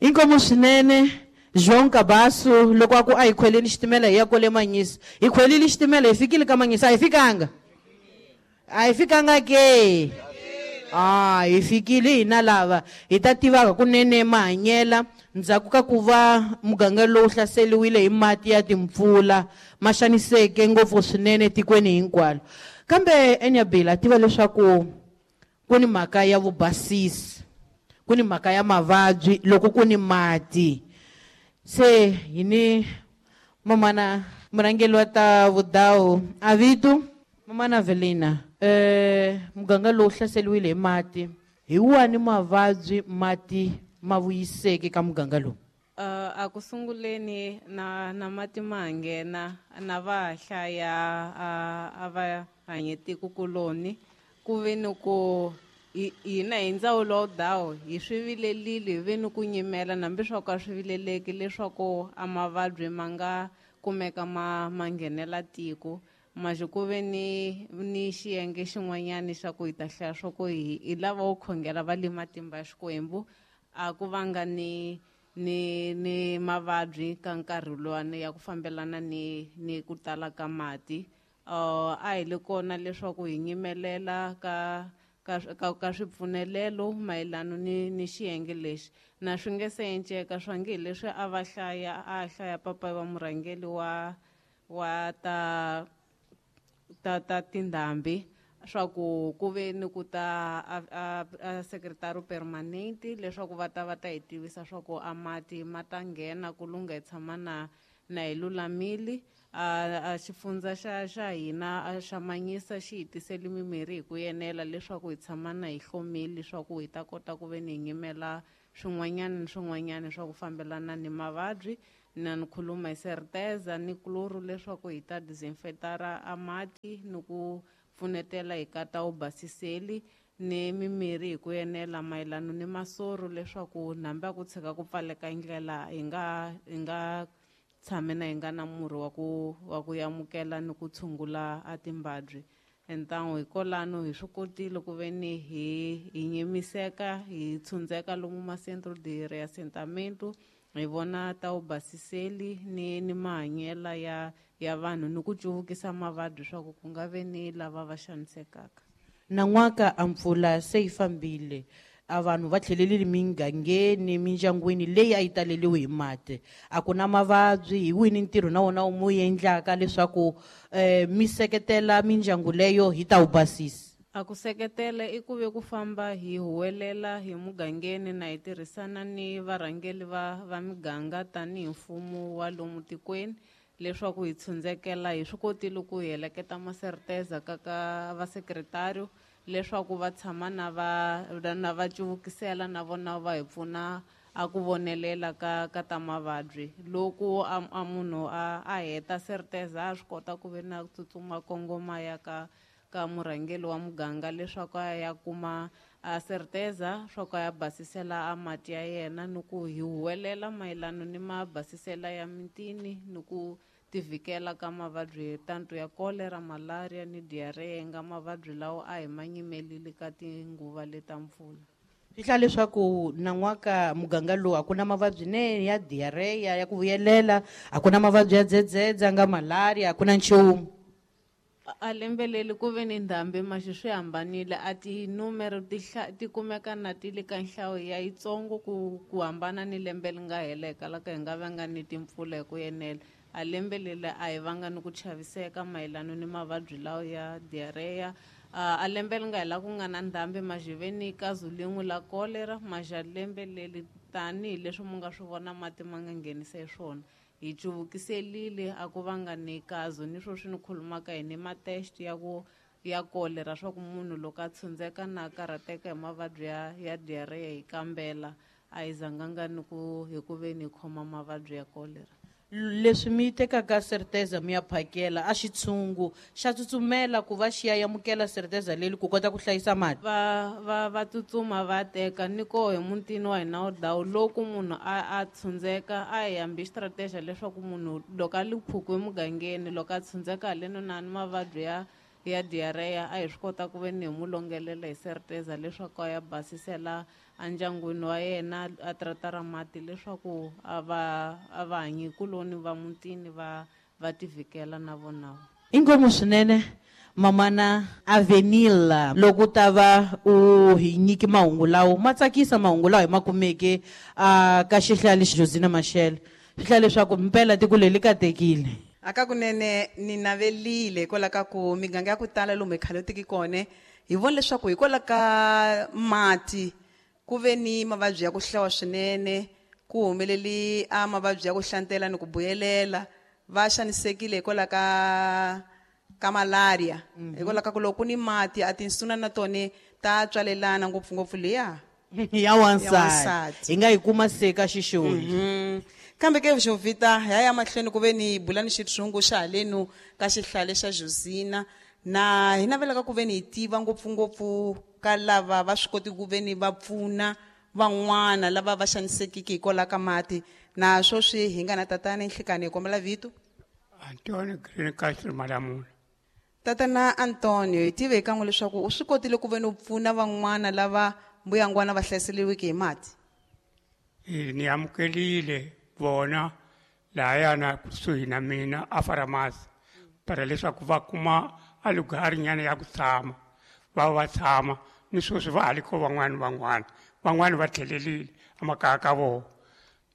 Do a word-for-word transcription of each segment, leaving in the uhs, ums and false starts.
Inkomu swinene João Cabasso loko a ku a hi khweleni xitimela hi ya kwale Manyisa. Hi khwelile xitimela hi fikile ka Manyisa, a hi fikanga? A hi fikanga ke? Ah, hi fikile hina lava hi ta tivaka kunene mahanyela ndzhaku ka ku va muganga lowu hlaseriwile hi mati ya timpfula ma xaniseke ngopfu swinene tikweni hinkwalo. Kambe Enyabila tiva leswaku ku ni mhaka ya vubasisi, ku ni mhaka ya mavabyi loko ku ni mati. Se hi ni mamana murhangeri wa ta vudawu Avitu, mamana Velina, eh muganga lowu hlaseriwile hi mati, hi wani mavabyi mati ma vuyiseke ka muganga lowu? Uh, a ku sunguleni na na mati ma nghena na va hlaya a, a va hanye tiko kuloni ku ve ni ku hina hi ndzawulo wa dawu hi swi vilelile, hi ve ni ku nyimela hambi swa ku a swi vileleki leswaku a mavabyi ma nga kumeka ma, ma nghenela tiko. Maxi ku ve ni, ni xiyenge xin'wanyani xa ku hi ta hlaya swa ku hi, hi lava wo khongela va le matimba ya Xikwembu, a ku vanga ni, ni, ni mavabyi ka nkarhi luwani ya ku fambelana ni, ni ku tala ka mati. Uh, a hi le kona leswaku hi nyimelela ka, ka, ka, ka swipfunelelo mayelana ni, ni xiyenge lexi. Na swi nge se enceka swa nge leswi a va hlaya, a hlaya papa wa murhangeri wa, wa ta, ta, ta tindhambi swa ku ku ve ni ku ta a, a, a secretary permanent leswaku va ta va ta hi tivisa swa ku a mati ma ta nghena ku lungha hi tshama na, na hi lulamile. A, a xifundza xa, xa hina a xa Manyisa xi hi tisele mimirhi hi ku enela leswaku hi tshama na hi hlomile leswaku hi ta kota ku ve ni hi nyimela swin'wanyana ni swin'wanyana swa ku fambelana ni mavabyi. Na ni khuluma hi Certeza ni chloro leswaku hi ta disinfectara a mati ni ku pfunetela hi ka ta wu basiseli ni mimirhi hi ku enela mayelana ni masoro leswaku hambi a ku tshika ku pfaleka ndlela hi nga, hi nga tshame na hi nga na murhi wa ku, wa ku amukela ni ku tshungula a timbabyi. Entangu hi kolano hi swi kotile ku ve ni hi, hi nyimiseka hi tshundzeka lomu ma centro de reassentamento hi vona ta wu basiseli ni, ni mahanyela ya, ya vanhu ni ku cuvukisa mavabyi swa ku ku nga ve ni lava va xanisekaka. Nan'waka a mpfula se yi fambile, a vanhu va tlhelelile migangeni, mindyangwini leyi a yi taleliwe hi mati. A ku na mavabyi, hi wini ntirho na wona wu mu endlaka leswaku, eh, mi seketela mindyangu leyo hi ta wu basisa? A ku seketela i ku ve ku famba hi huwelela hi mugangeni na hi tirhisana ni varhangeri va, va miganga tanihi mfumo wa lomu tikweni leswaku hi tshundzekela. Hi swi kotile ku hi heleketa maserteza ka, ka va secretary leswaku va tshama na va, na va cuvukisela na vona va hi pfuna a ku vonelela ka, ka ta mavabyi. Loko a, a munhu a, a heta Certeza a swi kota ku ve na tsutsuma kongoma ya ka, ka murhangeri wa muganga leswaku a ya kuma a Certeza swa ku a ya basisela a mati ya yena ni ku hi huwelela mayelana ni mabasisela ya mitini ni ku tivikela ka mavabyi tanto ya cholera, malaria ni diarrhea nga mavabyi lawa a hi ma nyimelile ka tinguva leta mpfula. Swi hlaya leswaku nan'waka muganga lowu a ku na mavabyi ne ya diarrhea ya ku vuyelela, a ku na mavabyi ya dzedzedza nga malaria, a ku na nchumu. A lembe leri ku ve ni ndhambi maxi swi hambanile, a tinumero ti hla-, ti kumeka na ti le ka nhlayo ya yitsongo ku, ku hambana ni lembe leri nga heleka la ka hi nga vanga ni timpfula hi ku enela. A lembe leri a hi vanga ni ku chaviseka mayelana ni mavabyi lawa ya diarrhea. A, a lembe leri nga hela ku nga na ndhambi maxi ve ni kazu lin'we la cholera, maxi a lembe leri tanihileswi mu nga swi vona mati ma nga nghenisa hi swona. Hi cuvukiselile a ku vanga ni kazu ni sweswi ni khulumaka hi ni ma-test ya ku ya cholera swa ku munhu loko a tshundzeka na karhateka hi mavabyi ya, ya diarrhea hi kambela a hi zanganga ni ku hi ku ve ni khoma mavabyi ya cholera. Leswi mi tekaka Certeza mi ya phakela a xitshungu xa tsutsumela ku va xi ya amukela Certeza leri ku kota ku hlayisa mati. Va, va, va tsutsuma va teka ni koho hi mutini wa hina wa dawu loko munhu a, a tshundzeka a hi hambi strategy leswaku munhu loko a le phuku emugangeni loko a tshundzeka haleno na ni mavabyi ya, ya diarrhea a hi swi kota ku ve ni hi mu longelela hi serteza leswaku a ya basisela endyangwini wa yena a tratara mati leswaku a va a va hanyikuloni va mutini va va tivikela na vona. Inkomu swinene mamana Avenila loko ta va u hi nyiki mahungu lawo ma tsakisa mahungu lawa hi ma kumeke a ka xihlali Josina Machel swi hlaya leswaku mpela tiko leri katekile. Aka kunene ni navelile hikwalaho ka ku miganga ya ku tala lomu hi khalotiki kona hi vona leswaku hikwalaho ka mati ku ve ni mavabyi ya ku hlawa swinene ku humeleli a mavabyi ya ku hlantela ni ku buyelela va xanisekile hikwalaho ka ka malaria hikwalaho ka ku loko ku ni mati a tinsuna na tona ta tswalelana ngopfungopfu liya ya wansati hi nga yi kuma se ka xixoni. Kambe ke Jovita ya ya mahlweni ku ve ni bula ni xitshungu xa halenu ka xihlale xa Josina na hi navelaka ku ve ni hi tiva ngopfungopfu ka lava va swi koti ku ve ni va pfuna van'wana lava va xanisekiki hikwalaho ka mati na sweswi hi nga na tatana Nhlikani hi kombela vito Antonio Green Castro Malamula. Tatana Antonio hi tive hi kan'we leswaku u swi kotile ku ve ni u pfuna van'wana lava mbuyangwana va hlaseriweke hi mati. E ni amukelile vona lahayana kusuhi na mina a faramasi para leswaku va kuma a lugari nyana ya ku tshama va va tshama ni sweswi va ha ri ko van'wani van'wana van'wani va tlhelelile emakaya ka vona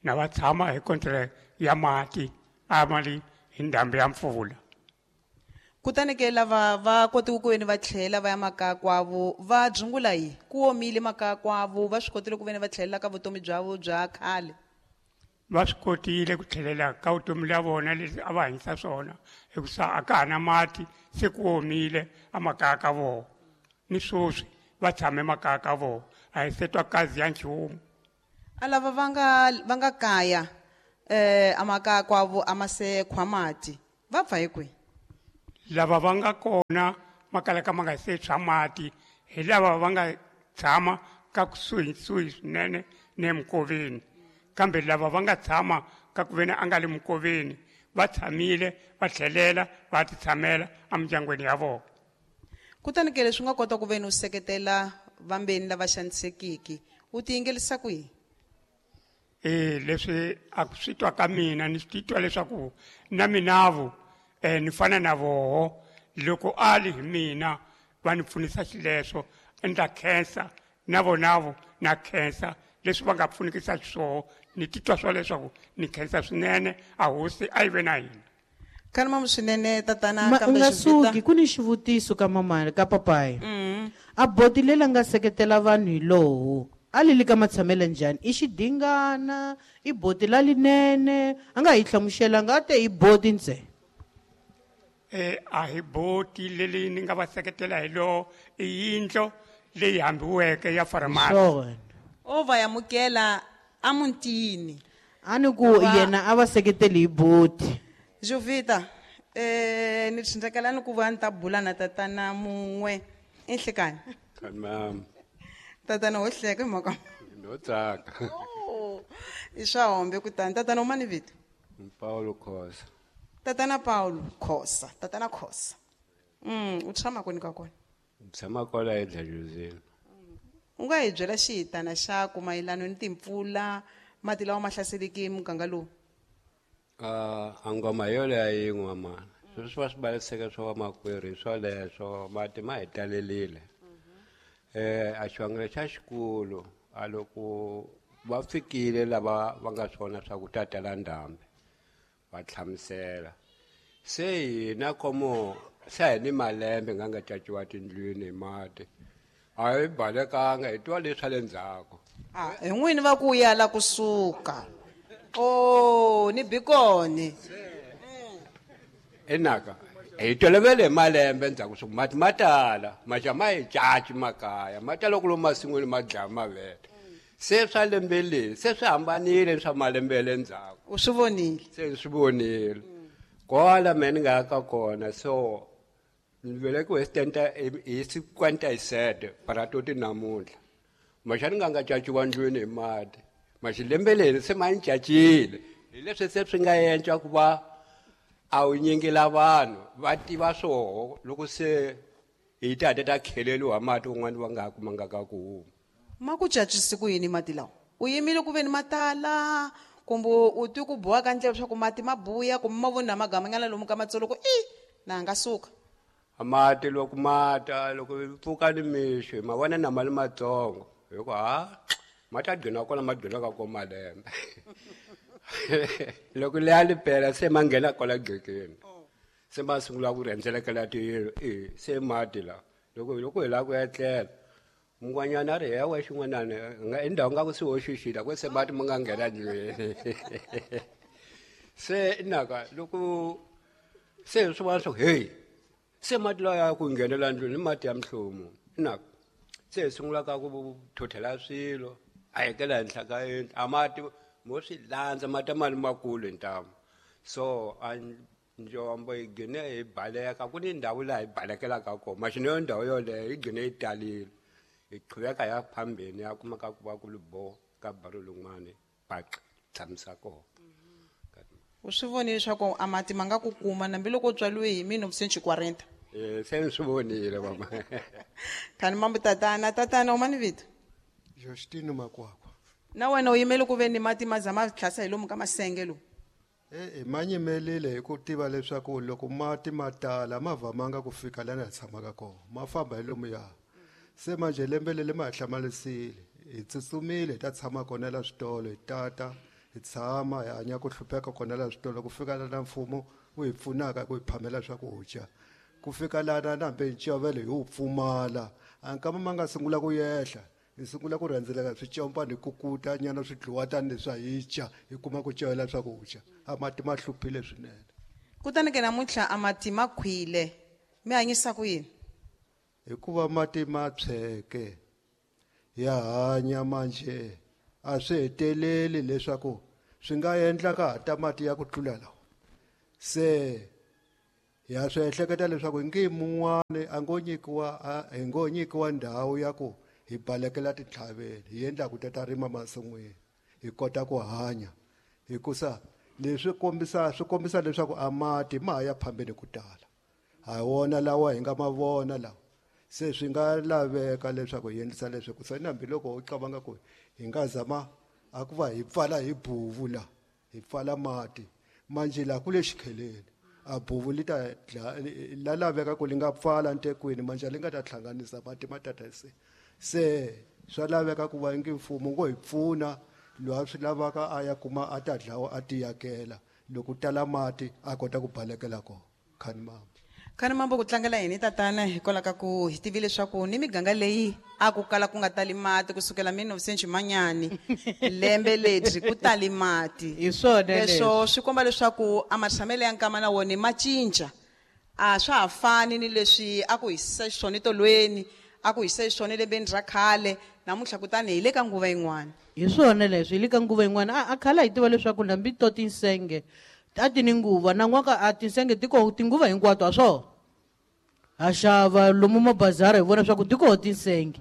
na va tshama hi contract ya mati a mali hi ndhambi ya mpfula. Kutani ke lava va kotile ku ve ni va tlhela va ya makaya kwavo va dzungula yi ku omile makaya kwavo va swi kotile ku ve ni va tlhelela ka vutomi bya vo bya khale. Va swi kotile ku tlhelela ka vutomi bya vona leswi a va hanyisa swona hikusa a ka ha na mati se ku omile emakaya ka vona ni sweswi va tshame makaya ka vona a hi se twa kazi ya nchumu. A lava va nga va nga kaya eh amakaya kwavo a ma se khwa mati va pfa hi kwihi? Lava va nga kona makala ka ma nga se tshwa mati hi lava va nga tshama ka kusuhisuhi swinene ne mikoveni kambe lava va nga tshama ka ku veni a nga le mikoveni va tshamile va tlhelela va ti tshamela emindyangwini ya vona. Kutani ke leswi nga kota ku veni u seketela vambeni lava xanisekiki u ti yingelisa kwihi? E leswi a ku swi twa ka mina ni swi titwa leswaku na minavu eh ni fana na voho loko a li hi mina va ni pfunisa xileswo endla khensa na vonavo na khensa leswi va nga pfunikisa xiswona ni titwa swa leswaku ni khensa swinene a hosi a yi ve na hina. Khalima swinene tatana kambe nga suki ku ni xivutiso ka mama ka papayi a boti leri nga seketela vanhu hi lowu a li li ka matshamelo njhani i xidingana i boti la linene a nga hi hlamuselanga a te i boti ntsena. E a hi boti leri ni nga va seketela hi lowo i yindlo leyi hambiweke ya faramasi. O va amukela emutini a ni ku yena a va seketeli hi boti. Jovita eh ni tsindzakela ni ku va ni ta bula na tatana mun'we enhlekani. Ma'am. Tatana wo hleka hi mhaka no tsaka. I swa hombe kutani tatana u mani vito? Paulo Khosa. Tatana Paulo Khosa, tatana Khosa. Mm, u tshama kwini ka kona? Tshama kwala eDlajozini. U nga hi byela xihitana xa ku mayelana ni timpfula mati lawa ma hlaseleke muganga lowu? Ah, a ngoma yoleyo yin'we mama. Sweswi va swi baliseke swa vamakwerhu hi swoleswo mati ma hi talelile. Eh a xivangelo xa xikulu a loko va fikile lava va nga swona swa ku ta tala ndhambi va hlamusela se hina komo se hi ni malembe nga nga caciwa tindlwini hi mati a hi balekanga hi twa leswa le ndzhaku. A hi n'wini va ku ya la kusuka o ni bikoni enaka hi tolovele hi malembe ndzhaku swa mati ma tala maxa ma hi caci makaya ma tala ku lomu masin'wini ma dlaya mavele se swa lembe leri se swi hambanile swa malembe ya le ndzhaku. U swi vonile? Se swi vonile kwala me ni nga ya ka kona so ni velekiwe hi cinquanta-e-sette paratoti namuntlha maxa ni nga nga caciwa ndlwini hi mati maxilembe leri se ma ni cacile hi leswi se swi nga endla ku va A wu nyingela vanhu va tiva swoho loko se hi ta ta kheleliwa mati un'wana va nga ha kumanga ka ku huma. Ma ku cacisi ku yini mati lawa? U yimile ku veni ma tala kumbe u twi ku boha ka ndlela leswaku mati ma buya kumbe ma vona magamanyana lomu ka matsolo ku i na nga suka. Mati loko ma ta loko pfuka ni mixo ma vona na mali matsongo hi ku ha ma ta gcina kona ma gcina ka ko malembe. Loko leya li pela se ma nghena kwala gcekeni se ma sungula ku rhendzelekela tiyindlu e se mati la loko loko hi lava ku etlela mun'wanyana a ri hewa xin'wanana nga endhawu nga ku se hoxixile ku se mati ma nga nghena ndlwini. Se naka loko se swi vona swa ku hey se mati lawa ya ku nghenela ndlwini i mati ya mihlomu naka se hi sungula ka ku thothela swilo a hekela henhla ka yindlu a mati mo swi landza mati mali makulu hi ntamu so a njombo yi gcine hi baleka ku ni ndhawu laha hi balekelaka kona maxino yo ndhawu yoleyo yi gcine yi talile hi qhuveka ya phambeni ya kumaka ku va ku ri bo ka baro lin'wani paqa tshamisa kona. U swi vonile leswaku a mati ma nga ku kuma nambiloko u tswaliwe hi mille neuf quarante? Eh se ni swi vonile mama. Khani mambo tatana tatana u mani vito? Justino Makwakwa. Na wena u yimele ku ve ni mati ma za ma tlhasa hi lomu ka masenge lomu? E-e ma nyimelile hi ku tiva leswaku loko mati ma tala ma vamanga ku fika laha hi tshamaka kona ma famba hi lomuya. Se manje lembe leri ma hi hlamarisile hi tsutsumile hi ta tshama kona la switolo hi tata hi tshama hi hanya ku hlupheka kona la switolo ku fika lana mfumo wu hi pfunaka ku hi phamela swakudya ku fika lana na hambi ncovelo hi wu pfumala a nkama ma nga sungula ku yehla hi sungula ku rhendzeleka swicompani hi kukuta nyana swi dliwa tani leswi a hi dya hi kuma ku covela swakudya a mati ma hluphile swinene. Kutani ke namuntlha a mati ma khwile mi hanyisa ku yini? Hikuva mati ma tshweke ya hanya manje a swi heteleli leswaku swi nga endla ka ha ta mati ya ku tlula lawa se ya swi ehleketa leswaku ngi mun'wani a ngo nyikiwa hi ngo nyikiwa ndhawu ya ku hi balekela tintlhaveni hi endla ku ta rima masin'wini hi kota ku hanya hikusa leswi kombisa swi kombisa leswaku a mati ma ha ya phambeni ku tala ha wona lawa hi nga ma vona lawa se swi nga laveka leswaku hi endlisa leswi ku se hambiloko u cabanga ku hi nga zama a ku va hi pfala hi buvu la hi pfala mati manje la ku le xikheleni a buvu li ta la laveka ku li nga pfala ntekwini manje li nga ta hlanganisa mati ma tata se se swa laveka ku va ngi mfumo ngo hi pfuna loyi a swi lavaka a ya kuma a ta dlawa a tiyakela loko tala mati a kota ku balekela kona. Khani mama. Khani mambo ku tlangela yini tatana hikwalaho ka ku hi tivile leswaku ni miganga leyi a ku kala ku nga tali mati kusukela mille neuf manyani lembe ledyi ku tali mati. Hi swona leswo swi komba leswaku a matshamelo ya nkama na wona ma cinca a swa ha fani ni leswi a ku hisisa xiswona tolweni a ku hisa xiswona lembeni ra khale namuntlha kutani hi le ka nguva yin'wana. Hi swona leswi hi le ka nguva yin'wana a khala hi tiva leswaku hambi to tinsenge a ti ni nguva na n'waka a tinsenge ti koho tinguva hinkwato a swona ha xava lomu mabazara hi vona swa ku ti koho tinsenge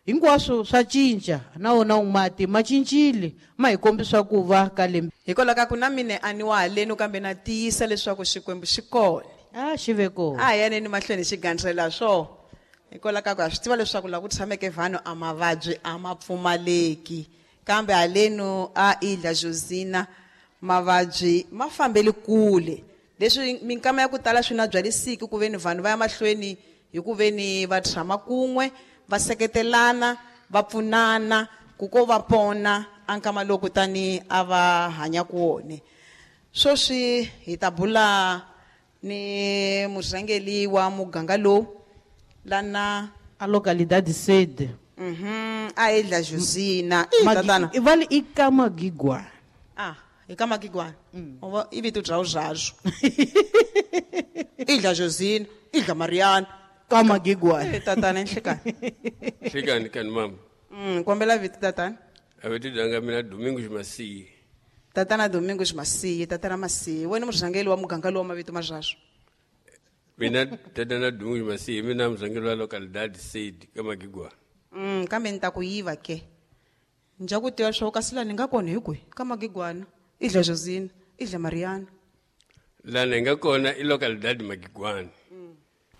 hinkwaswo swa cinca na wona mati ma cincile ma hi kombisa ku va ka lembe. Hikwalaho ka ku na mina a ni wa halenu kambe na tiyisa leswaku Xikwembu xi kona. A xi ve kona. A hi yaneni mahlweni xi gandzela swona hikwalaho ka ku ha swi tiva leswaku laha ku tshameke vanhu a mavabyi a ma pfumaleki kambe halenu a Ilha Josina mavabyi ma fambeli kule leswi minkama ya ku tala swi na byalisiki ku veni vanhu va ya mahlweni hi ku veni va tshama kun'we va seketelana va pfunana ku ko va pona a nkama lowu kutani a va hanya ku wona. Sweswi hi ta bula ni murhangeri wa muganga lowu lana a localidade sede. Mhm a Ilha Josina i tatana i vale i ka Magigwana. Ah i ka Magigwana mm. I vito bya uzazwo Ilha Josina Ilha Mariana ka Magigwana. Eh tatana nhlekani nhlekani kani mama. Mm kombela vito tatana. A vito danga mina Domingos Masiyi. Tatana Domingos Masiyi tatana Masiyi wena murhangeri wa muganga lowu mavito mazwazwo. Mina tatana Domingos Masiyi mina murhangeri wa localidade sede ka Magigwana. Mm kambe ni ta ku yiva ke nja ku tiva swo kasi la ni nga kona hi kwihi ka Magigwana Ilha Josina Ilha Mariana. Lana hi nga kona i localidade Magigwana.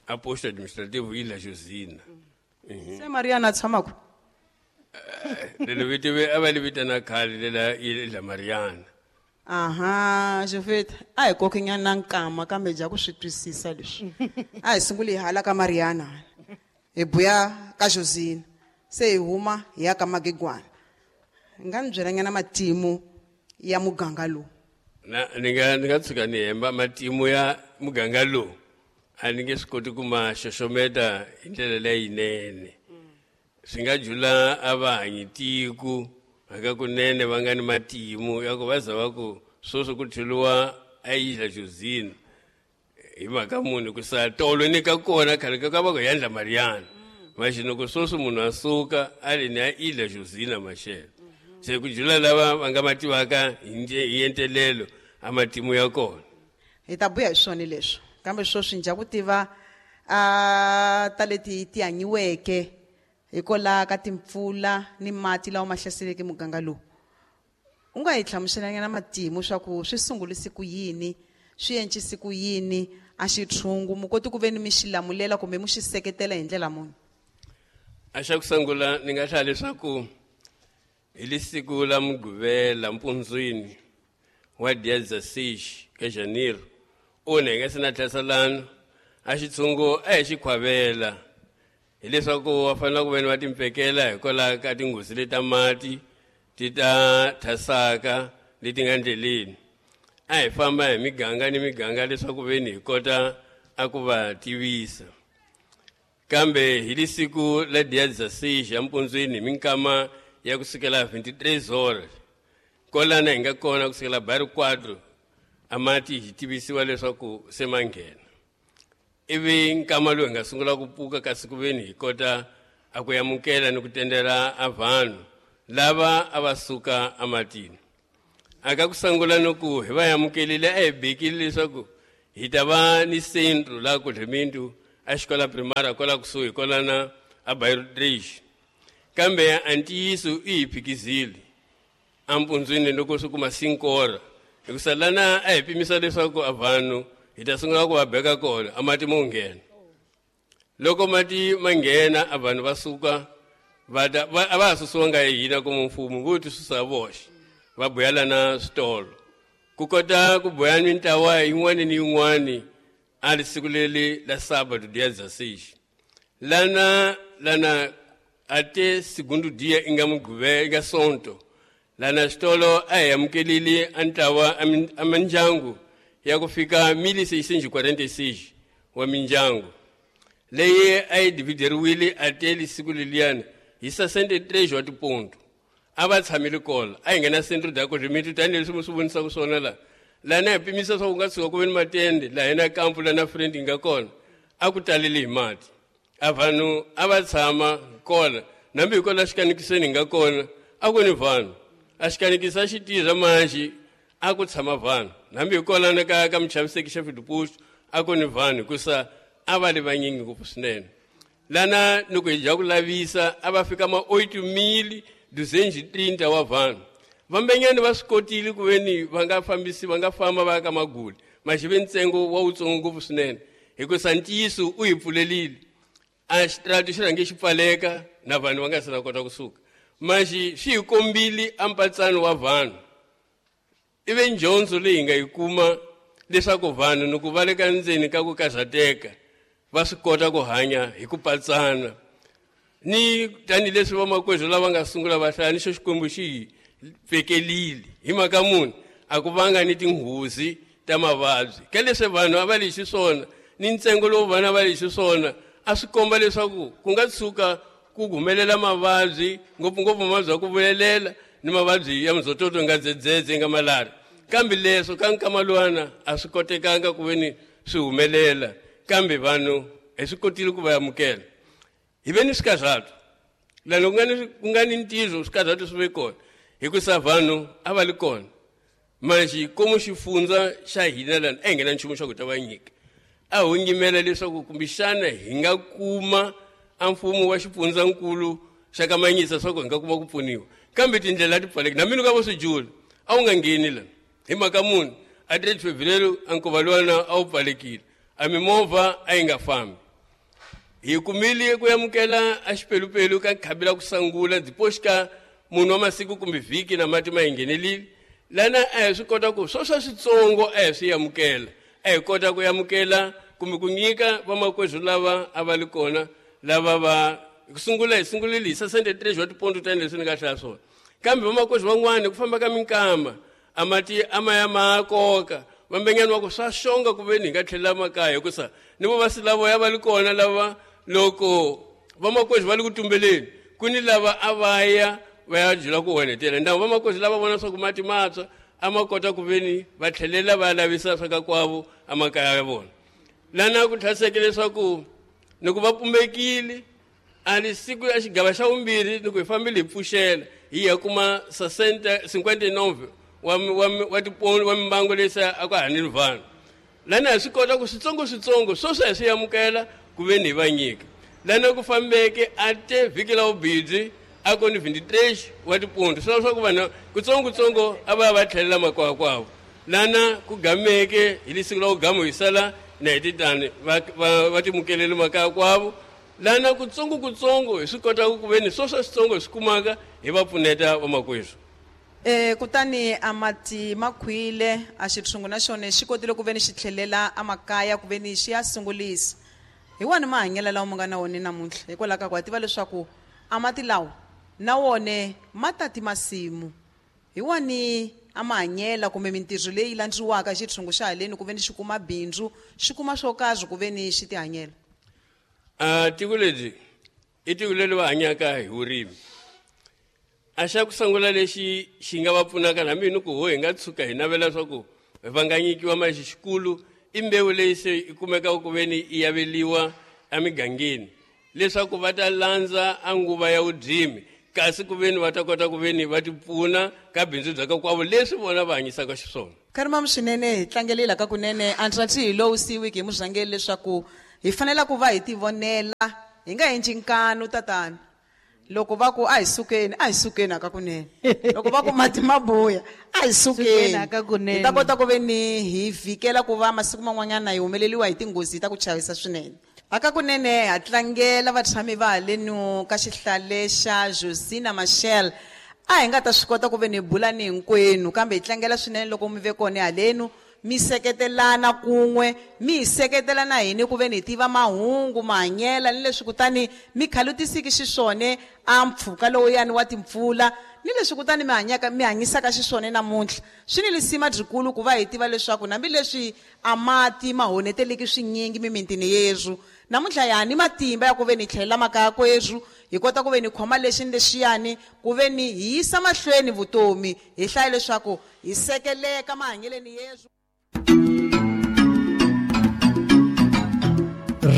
A posto administrativo Ilha Josina. Se Mariana a tshama ku? Lelo vito a va li vitana khale lela Ilha Mariana. Aha, Jovita, a hi kokinyana nkama kambe dya ku swi twisisa leswi. A hi sunguli hi hala ka Mariana. Hi buya ka Josina. Se hi huma hi ya ka Magigwana. Nga ni byelanyana matimu ya muganga lowu. Na ni nga ni nga tshuka ni hemba matimu ya muganga lowu. A ni nge swi koti ku ma xoxometa hi ndlela leyinene. Swi nga jula a va hanyi tiko haka kunene va nga ni matimu ya ku va za va ku sweswi ku theliwa a Ilha Josina hi mhaka munhu ku sa tolo ni ka kona khale ka ka va ku yandla Mariana. Maxi loko sweswi munhu a suka a ri ni ya Ilha Josina maxelo. Se ku jula lava va nga ma tivaka hi hi entelelo a matimu ya kona. Hi ta buya hi swona leswi. Kambe sweswi ndza ku tiva a ta leti ti hanyiweke hikwalaho ka timpfula ni mati lawa ma hlaseleke muganga lowu. U nga hi hlamuselanyana matimu swa ku swi sungulise ku yini, swi encise ku yini, a xitshungu mu koti ku ve ni mi xi lamulela kumbe mu xi seketela hi ndlela muni? A xa ku sungula ni nga hlaya leswaku hi li siku la Mugqivela mpundzwini wa dia dezesseis ka janeiro one hi nga se na tlhaselana a xitshungu a hi xi khwavela hileswaku va fanele ku veni va timpfekela hikwalaho ka tinghozi leti ta mati ti ta thasaka leti nga ndleleni. A hi famba hi miganga ni miganga leswaku veni hi kota a ku va tivisa. Kambe hi li siku la dia dezesseis ya mpundzwini hi minkama ya kusukela vinte e três horas kolana hi nga kona kusukela bairro quatro a mati hi tivisiwa leswaku se ma nghena. Ivi nkama lowu hi nga sungula ku pfuka kasi ku veni hi kota a ku amukela ni ku tendela a vanhu lava a va suka ematini. A ka ku sungula ni ku hi va amukelile a hi bekile leswaku hi ta va ni centro laha Kudlimindu a xikola primária kwala kusuhi kwalana a bairro três. Kambe a ntiyiso i hi phikizile empundzwini loko swi kuma cinco horas. Hikusa lana a hi pimisa leswaku a vanhu hi ta sungula ku va beka kona a mati mo nghena. Loko mati ma nghena a vanhu va suka va ta va a va ha susiwanga hi hina kuma mfumo vo ti susa voxe va buyela na switolo. Ku kota ku boya mintlawa yin'wana ni yin'wana a ri siku leri la sábado dia dezesseis. Lana lana até segundo dia i nga Mugqivela i nga Sonto. Lana xitolo a hi amukelile a ntlawa a mindyangu ya ku fika mil seiscentos e quarenta e seis wa mindyangu leyi a yi divideriwile até siku leliyani hi sessenta e três wa tiponto. A va tshamile kona a hi nghena centro de acolhimento tanihileswi mi swi vonisaka swona laha. Lana hi pimisa swa ku nga tshuka ku ve ni matende laha na kampu lana friend yi nga kona a ku talele hi mati. A vanhu a va tshama kona nambi hi kona xikanikiseni hi nga kona a ku ni vanhu. A xikanikisa xi tirha manjhe a ku tshama vanhu nambi hi kona na ka ka muchaviseki xa Fidipuxo a ku ni vanhu hikusa a va li vanyingi ngopfu swinene. Lana loko hi dya ku lavisa a va fika ma oito mil duzentos e trinta wa vanhu. Vambenyani va swi kotile ku veni va nga fambisi va nga famba va ya ka Maguli maxi ve ntsengo wa wutsongo ngopfu swinene hikusa ntiyiso u hi pfulelile. A xitrati xi rhange xi pfaleka na vanhu va nga se na kota kusuka. Maxi swi hi kombile a mpatsano wa vanhu. Ivi ndyondzo leyi hi nga yi kuma leswaku vanhu loko va le ka ndzeni ka ku karhateka va swi kota ku hanya hi ku patsana. Ni tanihileswi vamakwerhu lava nga sungula va hlaya ni xo Xikwembu xi hi pfekelile hi mhaka muni a ku vanga ni tinghozi ta mavabyi. Ka leswi vanhu a va li xiswona ni ntsengo lowu vanhu a va li xiswona a swi komba leswaku ku nga tshuka ku humelela mavabyi ngopfungopfu mavabyi ya ku vulelela ni mavabyi ya mzototo nga dzedzedze nga malaria. Kambe leswo ka nkama luwana a swi kotekanga ku veni swi humelela kambe vanhu hi swi kotile ku va amukela. Hi ve ni swikarhato lani ku nga ni ku nga ni ntirho swikarhato swi ve kona hikusa vanhu a va li kona. Manjhe komu xifundza xa hina lani a hi nga na nchumu xa ku ta va nyika. A ho nyimela leswaku kumbexana hi nga kuma a mfumo wa xifundzankulu xa ka Manyisa swa ku hi nga kuma ku pfuniwa. Kambe tindlela ti pfaleki na mina ka vo swi jula a wu nga ngheni la hi mhaka muni A três de fevereiro a nkova luwana a wu pfalekile, a mimovha a yi nga fambi. Hi kumile ku amukela a xipelupelu ka khabi la ku sangula depois ka munhu wa masiku kumbe vhiki na mati ma hi nghenelile. Lana a hi swi kota ku swo swa switsongo a hi swi amukela, a hi kota ku amukela kumbe ku nyika vamakwerhu lava a va li kona lava va ku sungula hi sungulile hi sessenta e três wa tiponto tanihileswi ni nga hlaya swona. Kambe vamakwerhu van'wani ku famba ka minkama a mati a ma ya ma koka vambenyani wa ku swa xonga ku veni hi nga tlhelela makaya, hikusa ni vavasi lavo ya va li kona lava loko vamakwerhu va li ku tumbeleni ku ni lava a va ya va ya jula ku onhetela ndhawu. Vamakwerhu lava vona swa ku mati matshwa a ma kota ku veni va tlhelela va ya lavisa swa ka kwavo emakaya ya vona. Lana ku tlhaseke leswaku ni ku va pumbekile a li siku ya xigava xa vumbirhi ni ku hi fambile hi pfuxela hi ya kuma sessenta cinquenta e nove wa wa wa tiponi wa mimbango leyi se a ku hanile vanhu. Lana hi swi kota ku switsongo switsongo sweswi hi swi amukela ku veni hi va nyika. Lana ku fambeke a te vhiki la vubidzi a ku ni vinte e três wa tiponto, swi leswaku vanhu kutsongo kutsongo a va ya va tlhelela makaya kwavo. Lana ku gameke hi lisiku la ku gama hi sala na hi titani va va va timukelele makaya kwavo. Lana kutsongo kutsongo hi swi kota ku veni swo swa switsongo hi swi kumaka hi va pfuneta vamakwerhu. Eh kutani amati makhwile a xitshungu na xona xi kotile ku veni xi tlhelela amakaya ku veni xi ya sungulisa. Hi wani mahanyelo lawa mu nga na wona namuntlha, hikwalaho ka ku ha tiva leswaku amati lawa na wona ma tati masimu. Hi wani a mahanyela kumbe mintirho leyi landziwaka xitshungu xa haleni ku veni xi kuma bindzu, xi kuma swo karhi ku veni xi tihanyela? A tiko leri i tiko leri va hanyaka hi vurimi. A xa ku sungula lexi xi nga va pfunaka na mina ku ho hi nga tshuka hi navela swa ku va nga nyikiwa mali xikulu i mbewu leyi se yi kumekaka ku veni yi aveliwa emigangeni leswaku va ta landza a nguva ya vudyimi, kasi ku veni va ta kota ku veni va ti pfuna ka bindzu bya ka kwavo leswi vona va hanyisaka xiswona. Karima swinene hi tlangelela ka kunene antswatsi hi lowu siwiki hi murhangeri leswaku hi fanele ku va hi tivonela hi nga endli nkanu tatana. Loko va ku a hi sukeni, a hi sukeni aka kunene. Loko va ku mati ma buya, a hi sukeni aka kunene. Hi ta kota ku veni hi vhikela ku va masiku man'wanyana hi humeleliwa hi tinghozi ta ku chavisa swinene. Aka kunene ha tlangela vatshami va halenu ka xihlale xa Josina Machel. A hi nga ta swi kota ku veni hi bula ni hinkwenu, kambe hi tlangela swinene loko mi ve kona halenu mi seketelana kun'we, mi hi seketelana hini ku veni hi tiva mahungu mahanyela ni leswi kutani mi khalutisiki xiswona a mpfhuka lowuyani wa timpfula ni leswi kutani mi hanyaka mi hanyisaka xiswona namuntlha. Swi ni lisima byikulu ku va hi tiva leswaku hambileswi a mati ma honeteleki swinyingi mimitini yerhu, namuntlha ya ni matimba ya ku veni hi tlhelela makaya kwerhu, hi kota ku veni hi khoma lexi ni lexiyani ku veni hi yisa mahlweni vutomi, hi hlaya leswaku hi sekeleka mahanyeleni yerhu.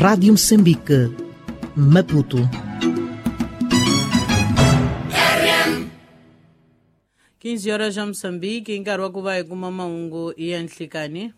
Rádio Moçambique, Maputo. quinze horas já Moçambique, nkarhi wa ku va hi kuma mahungu ya nhlikani.